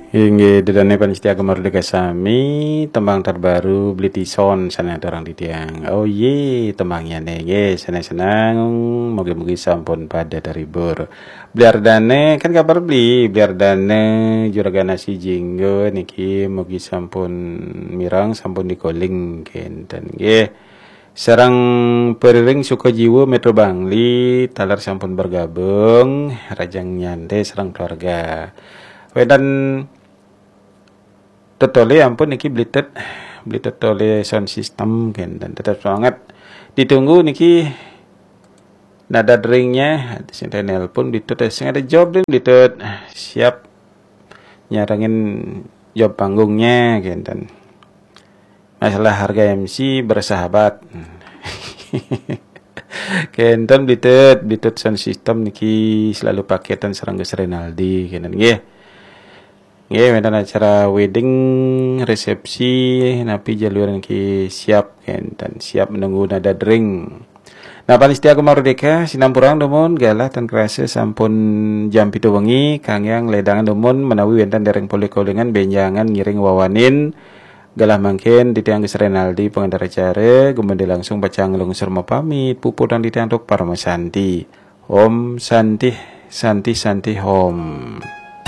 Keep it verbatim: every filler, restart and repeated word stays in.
Inggih, ida dané pamiarsa Gema Merdeka sami, tembang terbaru Beli Tison sané aturang titiang. Oh yé, tembangnya né, nggih, senang-senang, mugi-mugi sampun pada terhibur. Beli Ardane, kan kabar beli, Beli Ardane, Juragan Nasi Jinggo niki mugi sampun mireng, sampun dikoling kénten, nggih. Sareng Periring Sukajiwa Metro Bangli, taler sampun bergabung, rajang nyantai sareng keluarga. Wénten Tetole ampun niki Beli Tut, Beli Tetole sound system kénten tetap semangat. Ditunggu niki nada deringnya, sing nelpon Beli Tut, sing ada job deh Beli Tut. Siap nyarengin job panggungnya kénten. Masalah harga M C bersahabat. Kénten Beli Tut, Beli Tut sound system niki selalu paketan sareng Gus Renaldi kénten nggih. Nggih, wénten acara wedding, resepsi, napi jaluran niki siap kénten, siap menunggu nada dering. Nah, pamiarsa Gema Merdeka, sinampurang dumun, galah tan kerasa sampun jam pitu wengi, kanggé ledangan dumun menawi wénten dereng polih kolingan bénjangan ngiring wawanin, galah mangkin titiang Gus Renaldi pengantar acara, gumedhe langsung pacang nglungsur mapamit, puputang titiang antuk paramasanti. Om Santih, Santih, Santih Om.